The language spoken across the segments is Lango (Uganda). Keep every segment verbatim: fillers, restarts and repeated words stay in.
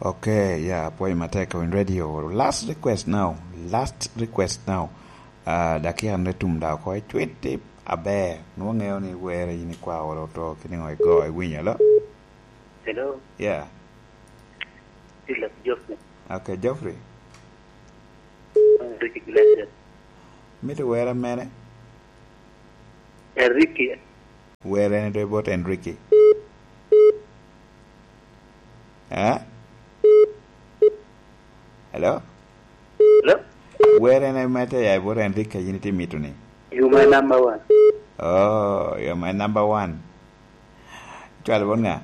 Okay, yeah, apwoyo matek on radio. Last request now. Last request now. Uh, dakika ne tum da oko icwiti aber. Nwoŋo ŋeo ni were in ikwa olo to kini ŋo igo iwinyo lo? Hello? Yeah. Philip Geoffrey. Okay, Geoffrey. Enrique Iglesias. Mito were mene? Enrique. Were ne do bot Enrique. Eh? Hello? Hello? Were ne mete ya bot Enrique yin iti mito ni? You my number one. Oh, you're my number one. Cwalo bot ŋa?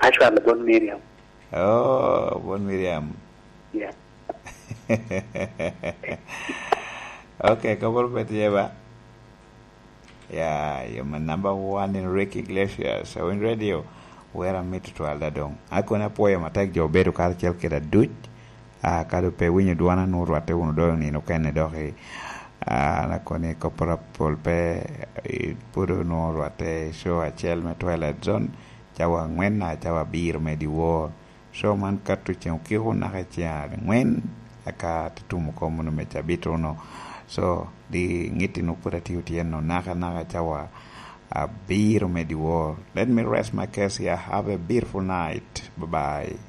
Acwalo bot Miriam. Oh, bot Miriam. Yeah. Okay, kop rubet ye ba? Yeah, you're my number one in Ricky Iglesias. So in radio, where I meet to Alda Dong. I couldn't apwoyo matek jo bedo kacel kede aduc. Ah, kado pe winyo dwana nu rwatte wunu doŋ nino kene dok i, ah, na koni kopora pol pe, i, pud nu rwatte i show acel me Twilight Zone, cawa angwen na cawa abiro me dyewor. Show man kato ceŋ okiko naka i ceŋ angwen, aka tutumo kom wunu me cabit wunu. So, di ŋitti nu pud atio tyen nu naka naka cawa abiro me dyewor. Let me rest my case here. Have a beautiful night. Bye-bye.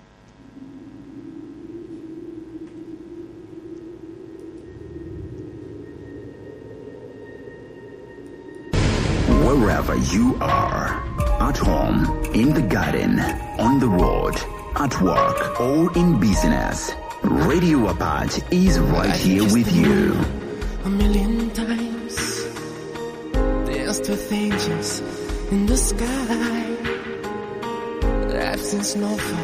Wherever you are, at home, in the garden, on the road, at work, or in business, Radio Apache is right here with you. A million times, there's two things in the sky. That's in snowfall.